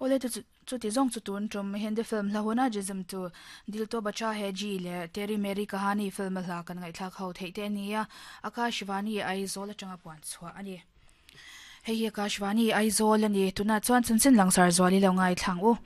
Awle chu chuti zawng chu tun tum Hindi film hla huna Jism tu Dil To Bacha Hai Ji leh Teri Meri Kahani film a hla kan ngaihthlak ho theih te a ni a, Akashvani Aizawl atanga puan chhuah a ni. Hei hi Akashvani Aizawl a ni. Tunah chuan chanchin langsar zual i lo ngaithlang u.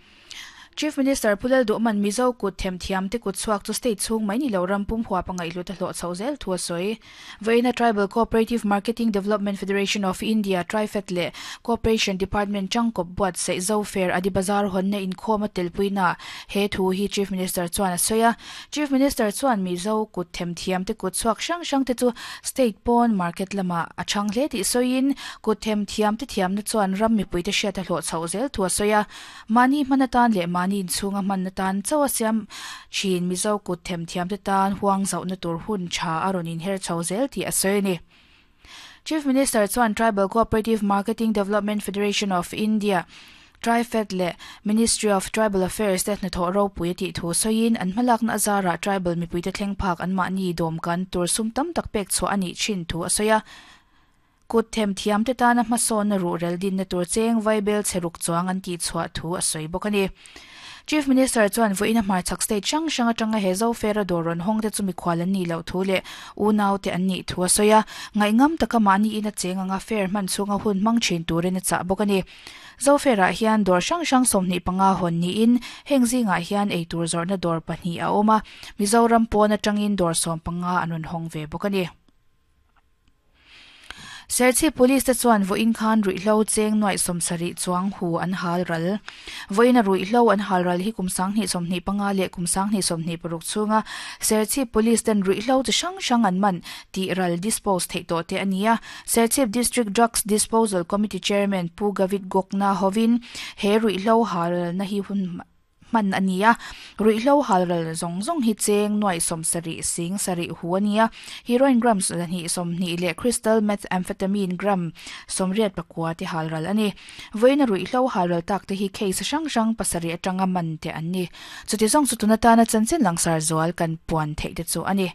Chief Minister Pu Lalduhman Mizo kut themthiam te kut chhuak chu state chhung mai ni lo ram pum huap a ngaihhlut a hlawh chhoh zel thu a sawi. Vawiina Tribal Cooperative Marketing Development Federation of India, TRIFED, leh Cooperation Department tangkawp buatsaih Zo Fair Adi Bazar hawnna inkhawm a telpuinaah he thu hi Chief Minister chuan a sawi a. Chief Minister chuan Mizo kut themthiam te kut chhuak hrang hrang te chu state pawn market lamah a chhang hle tih sawiin kut themthiam te thiamna chuan ram mipuite hriat a hlawh chhoh zel thu a sawi a. Mahni hman atan leh mahni inchhunga hman atan chauh a siam thin Mizo kut themthiamte tan huang zauhna tur hun tha a rawn inher chho zel tih a sawi a ni. Chief Minister chuan Tribal Cooperative Marketing Development Federation of India, TRIFED, leh Ministry of Tribal Affairs te hnathawh ropui a tih thu sawiin an hmalakna azarah tribal mipuite thleng phak anmahni dawmkan tur sum tam tak pek chhuah a nih thin thu a sawi a. Kut themthiam te tana hmasawnna ruhrel dinna tur cheng vaibel chhe ruk chuang an tihchhuah thu a sawi bawk a ni. Chief Minister chuan vawiin a hmarchhak state hrang hrang atanga he Zofera dawr rawn hawng te chu mikhual an nih loh thu leh unau te an nih thu a sawi a, ngaihngam taka mahni ina cheng anga fair hman chhunga hun hmang thin turin a chah bawk a ni. Zofair-ah hian dawr hrang hrang 25 hawn niin heng zingah hian eitur zawrhna dawr pahnih a awm a, Mizoram pawn atangin dawr 15 an rawn hawng ve bawk a ni. Serchhip Police te chuan vawiin khan ruihhlo cheng nuaih 70 chuang hu an hal ral. Vawiina ruihhlo an hal ral hi kum 2025 leh kum 2026 chhunga Serchhip Police ten ruihhlo chi hrang hrang an man tih ral dispose theih tawh te a ni a. Serchhip District Drugs Disposal Committee Chairman Pu Gavit Gokna hovin he ruihhlo hal ralna hi hun hman a ni a, ruihhlo halral zawng zawng hi cheng nuaih 70 sing sarih hu a ni a, heroin gram 220 leh crystal methamphetamine gram 84 te halral a ni. Vawiina ruihhlo halral tak te hi case hrang hrang pasarih atanga man te an ni. Chuti zawng chu tun atana chanchin langsar zual kan puan theih te chu a ni.